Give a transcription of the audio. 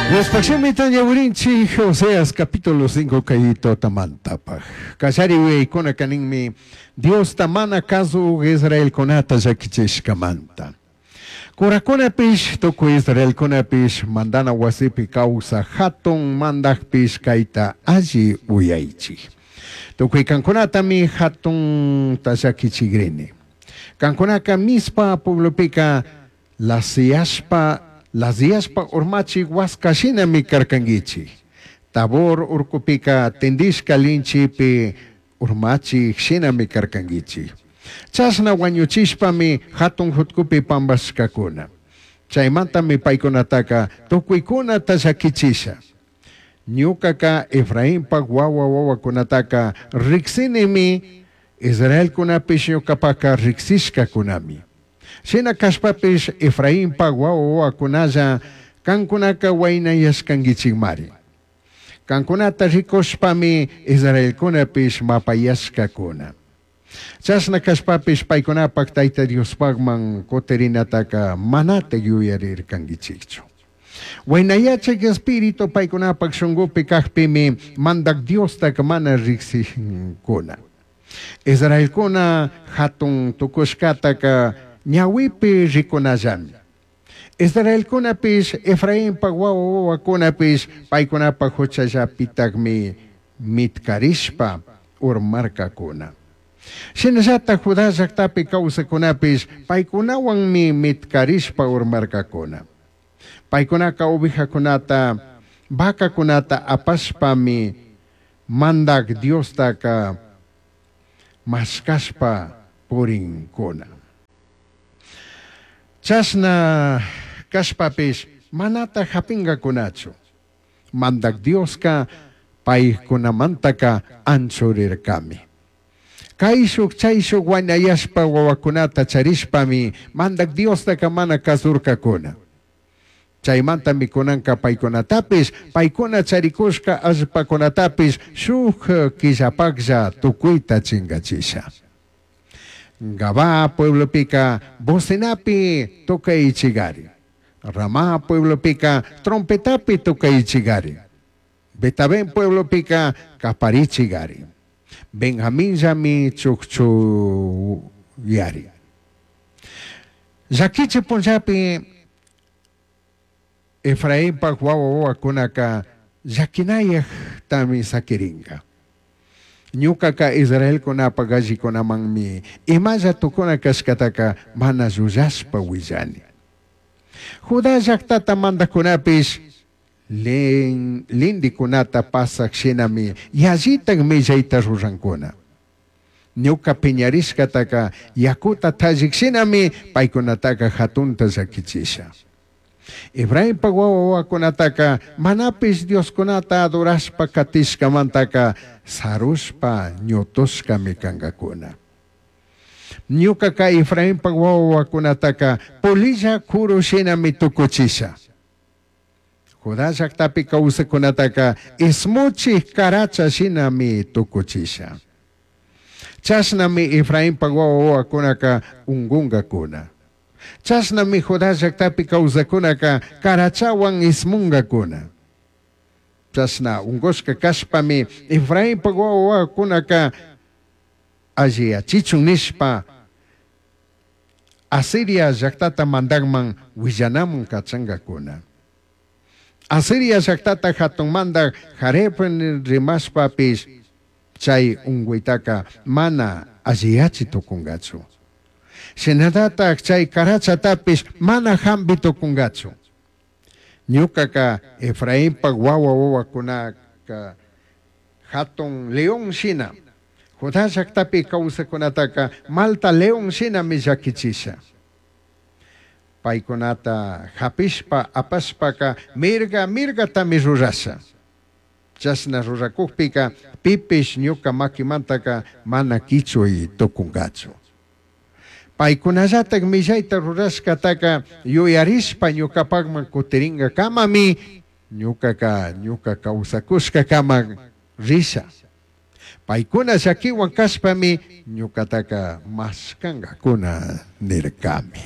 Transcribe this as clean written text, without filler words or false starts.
Diospaj shimita ñawirinchik Oseas capítulo 5 kay tutamantapaj. Kallari uyaykunaka ninmi Diosta mana kazuj Israelkunata llakichishkamanta. Curakunapish tukuy Israelkunapish mandana wasipi kawsaj jatun mandajpish kayta alli uyaychik. Tukuy kankunatami jatunta llakichigrini. Kankunaka Mizpa pueblopika lasiyashpa lasiyashpa urmachij huasca shinami karkanguichij. Tabor urcupika tindishca linchipi urmachij shinami karkanguichij. Chashna huañuchishpami jatun jutcupi pambashcacuna. Chaimantami paicunataca tucuicunata llaquichisha. Ñucaca Efrainpaj huahua huahuacunataca rijsinimi, Israelcunapish ñucapaca rijsishcacunami. Shina cashpapish Efrainpaj huahua huahuacunalla cancunaca huainayashcanguichijmari. Cancunata ricushpami Israelcunapish mapayashcacuna. Chashna cashpapish paicunapaj Taita Diospajman cutirinataca manataj yuyarircanguichijchu. Huainayachij espíritu paicunapaj shungupi cajpimi Mandaj Diostaca mana rijsincuna. Israelcuna jatun tucushcataca ñahuipi ricunallami. Israelcunapish, Efrainpaj huahua huahuacunapish paicunapaj juchallapitajmi mitcarishpa urmarcacuna. Shinallataj Judá llajtapi causajcunapish paicunahuanmi mitcarishpa urmarcacuna. Paicunaca ovejacunata, vacacunata apashpami Mandaj Diostaca mashcashpa purincuna. Chashna cashpapish manataj japingacunachu. Mandaj Diosca paicunamantaca anchurircami. Caishuj chaishuj huainayashpa huahuacunata charishpami Mandaj Diostaca mana cazurcacuna. Chaimantami cunanca paicunatapish, paicuna charicushca allpacunatapish shuj quillapajlla tucuita chingachisha. Gabaa pueblopica bocinapi tocaichigari. Ramá pueblopica trompetapi tocaichigari. Betabén pueblopica caparichigari. Benjaminllami chujchuyari. Llaquichi punllapi Efrainpaj huahua huahuacunaca llaquinayajtami saquiringa. Ñucaca Israelcunapaj allicunamanmi imalla tucuna cashcataca mana llullashpa huillani. Judá llajtata mandajcunapish lindicunata pasaj shinami yallitaj millaita rurancuna. Ñuca piñarishcataca yacuta tallij shinami paicunataca jatunta llaquichisha. Efrainpaj huahua huahuacunataca manapish dioscunata adorashpa catishcamantaca sarushpa ñutushcami cangacuna. Ñucaca Efrainpaj huahua huahuacunataca polilla curu shinami tucuchisha. Judá llajtapi causajcunataca ismuchij caracha shinami tucuchisha. Chashnami Efrainpaj huahua huahuacunaca ungungacuna. Chashnami Judá llajtapi causajcunaca carachahuan ismungacuna. Chashna ungushca cashpami Efrainpaj huahua huahuacunaca alliyachichun nishpa Asiria llajtata mandajman huillanaman cachangacuna. Asiria llajtata jatun mandaj Jareb rimashpapish chai ungüitaca mana alliyachi tucungachu. Shinallataj chai carachatapish mana jambi tucungachu. Ñucaca Efrainpaj huahua huahuacunaca jatun león shina, Judá llajtapi causajcunataca malta león shinami llaquichisha. Paicunata japishpa apashpaca mirga mirgatami rurasha. Chashna ruracujpica pipish ñuca maquimantaca mana quichui tucungachu. Paicunallataj millaita rurashcataca yuyarishpa ñucapajman cutiringacamami ñucaca ñuca causacushcacama risha. Paicuna llaquihuan cashpami ñucataca mashcangacuna nircami.